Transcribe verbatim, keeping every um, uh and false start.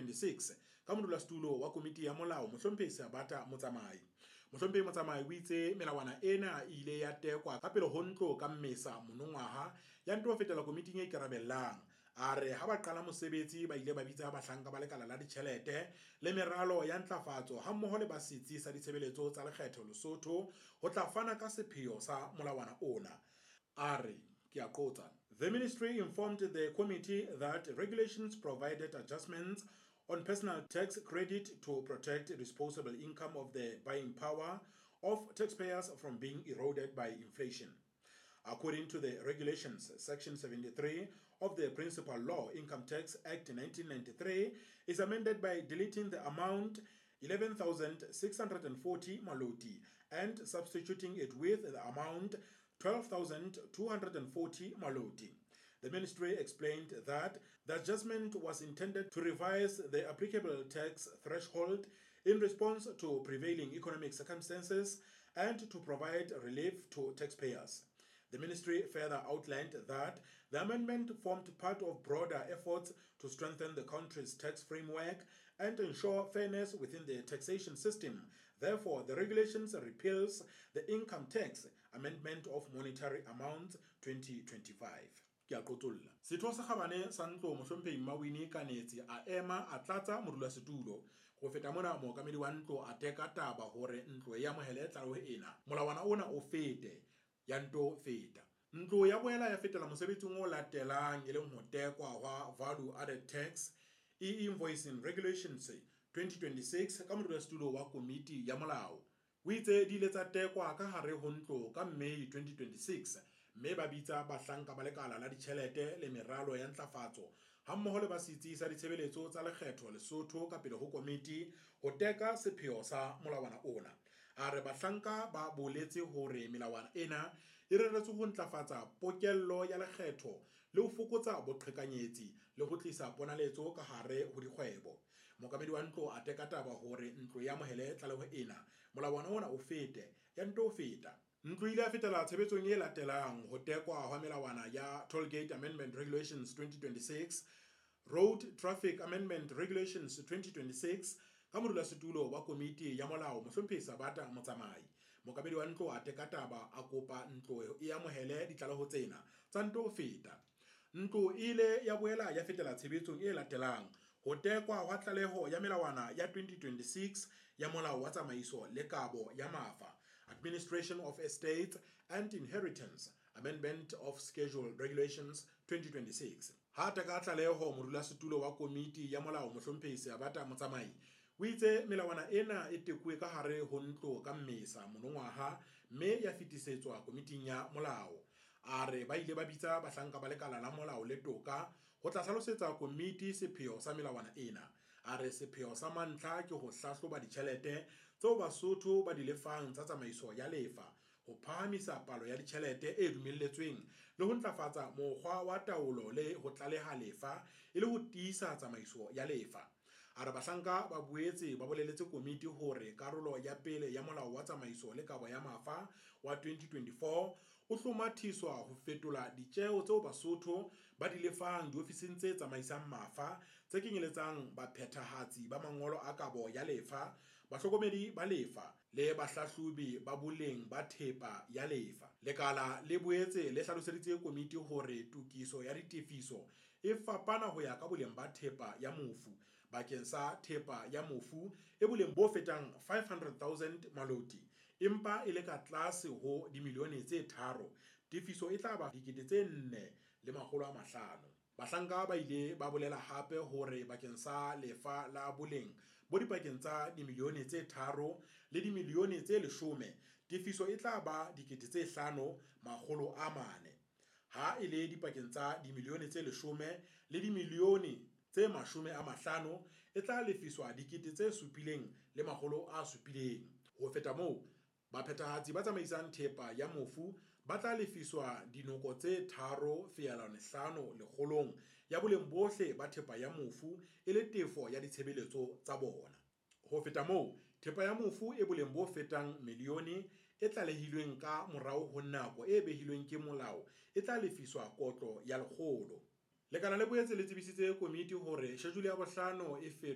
twenty twenty-six ka modulasetulo wa komiti ya molao, Mohlomphehi Seabata Motsamai. Mohlomphehi Motsamai o itse melawana ena e ile ya tekwa ka pele ho ntlo ka Mmesa monongwaha, ya nto fetela komiting e ikarabellang. A re ha ba qala mosebetsi ba ile ba bitsa bahlanka ba lekala la ditjhelete le meralo ya ntlafatso hammoho le ba Setsi sa Ditshebeletso tsa Lekgetho Lesotho ho tla fana ka sepheo sa molawana ona. A re, ke a qotsa, "The ministry informed the committee that regulations provided adjustments on personal tax credit to protect disposable income of the buying power of taxpayers from being eroded by inflation. According to the regulations, Section seventy-three of the Principal Law, Income Tax Act nineteen ninety-three, is amended by deleting the amount eleven thousand six hundred forty maloti and substituting it with the amount twelve thousand two hundred forty maloti. The ministry explained that the adjustment was intended to revise the applicable tax threshold in response to prevailing economic circumstances and to provide relief to taxpayers. The ministry further outlined that the amendment formed part of broader efforts to strengthen the country's tax framework and ensure fairness within the taxation system. Therefore, the regulations repeals the Income Tax Amendment of Monetary Amounts twenty twenty-five." Ke a qotsolla. Setho sa kgabane sa ntlo, Mohlomphehi Mmawini Kanetsi, a ema a tlatsa modulasetulo. Ho feta mona, mookamedi wa ntlo a teka taba hore ntlo e amohele tlaleho ena, molawana ona o fete, ya nto feta. Ntlo ya boela ya fetela mosebetsing o latelang, e leng ho tekwa hwa Value Added Tax E-Invoicing Regulations twenty twenty-six ka modulasetulo wa komiti ya molao. O itse di ile tsa tekwa ka hare ho ntlo ka May twenty twenty-six, mme ba bitsa bahlanka ba lekala la ditjhelete le meralo ya ntlafatso hammoho le ba Setsi sa Ditshebeletso tsa Lekgetho Lesotho ka pele ho komiti ho teka sepheo sa molawana ona. A re bahlanka ba boletse hore melawana ena e reretswe ho ntlafatsa pokello ya lekgetho le ho fokotsa boqhekanyetsi le ho tlisa ponaletso ka hare ho dikgwebo. Mookamedi wa ntlo a teka taba hore ntlo e amohele tlaleho ena, molawana ona o fete, ya nto feta. Ntlo ile ya fetela tshebetsong e latelang, ho tekwa hwa melawana ya Tollgate Amendment Regulations twenty twenty-six, Road Traffic Amendment Regulations twenty twenty-six ka modulasetulo wa komiti ya molao, Mohlomphehi Sabata Motsamai. Mookamedi wa ntlo a teka taba, a kopa ntlo e amohele ditlaleho tsena, tsa nto feta. Ntlo e ile ya boela ya fetela tshebetsong e latelang, ho tekwa hwa tlaleho ya melawana ya twenty twenty-six ya Molao wa Tsamaiso le Kabo ya Mafa, Administration of Estates and Inheritance Amendment of Schedule Regulations twenty twenty-six. Ha teka tlaleho, modulasetulo wa komiti ya molao, Mohlomphehi Seabata Motsamai, o itse melawana ena e tekuwe ka hare ho ntlo ka Mmesa monongwaha, mme ya fetisetswa komiting ya molao. A re ba ile ba bitsa bahlanka ba lekala la molao le toka ho tla hlalosetsa komiti sepheo sa melawana ena. A re sepheo sa mantlha ke ho hlahloba ditjhelete tseo Basotho ba di lefang tsa tsamaiso ya lefa, ho phahamisa palo ya ditjhelete e dumelletsweng le ho ntlafatsa mokgwa wa taolo le ho tlaleha lefa e le ho tiisa tsamaiso ya lefa. A re bahlanka ba boetse ba boleletse komiti hore karolo ya pele ya Molao wa Tsamaiso le Kabo ya Mafa wa twenty twenty-four o hlomathiswa ho fetola ditjeo tseo Basotho ba di lefang diofising tse tsamaisang mafa, tse kenyeletsang baphethahatsi ba mangolo a kabo ya lefa, bahlokomedi ba lefa le bahlahlobi ba boleng ba thepa ya lefa. Lekala le boetse le hlaloseditse komiti hore tokiso ya ditefiso e fapana ho ya ka boleng ba thepa ya mofu. Bakeng sa thepa ya mofu e boleng bo fetang five hundred thousand maloti empa e le ka tlase ho dimilione tse tharo, tefiso e tla ba dikete tse nne le makgolo a mahlano. Bahlanka ba ile ba bolela hape hore bakeng sa lefa la boleng bo dipakeng tsa dimilione tse tharo le dimilione tse leshome, tefiso e tla ba dikete tse hlano makgolo a mane. Ha e le dipakeng tsa dimilione tse leshome le dimilione tse mashome a mahlano, e tla lefiswa dikete tse supileng le makgolo a supileng. Ho feta moo, baphethahatsi ba tsamaisang thepa ya mofu ba tla lefiswa dinoko tse tharo feelwane hlano lekgolong ya boleng bohle ba thepa ya mofu e le tefo ya ditshebeletso tsa bona. Ho feta moo, thepa ya mofu e boleng bo fetang milione e tlalehilweng ka morao ho nako e behilweng ke molao e tla lefiswa kotlo ya lekgolo. Lekala le boetse le tsebisitse komiti hore shejule ya bohlano e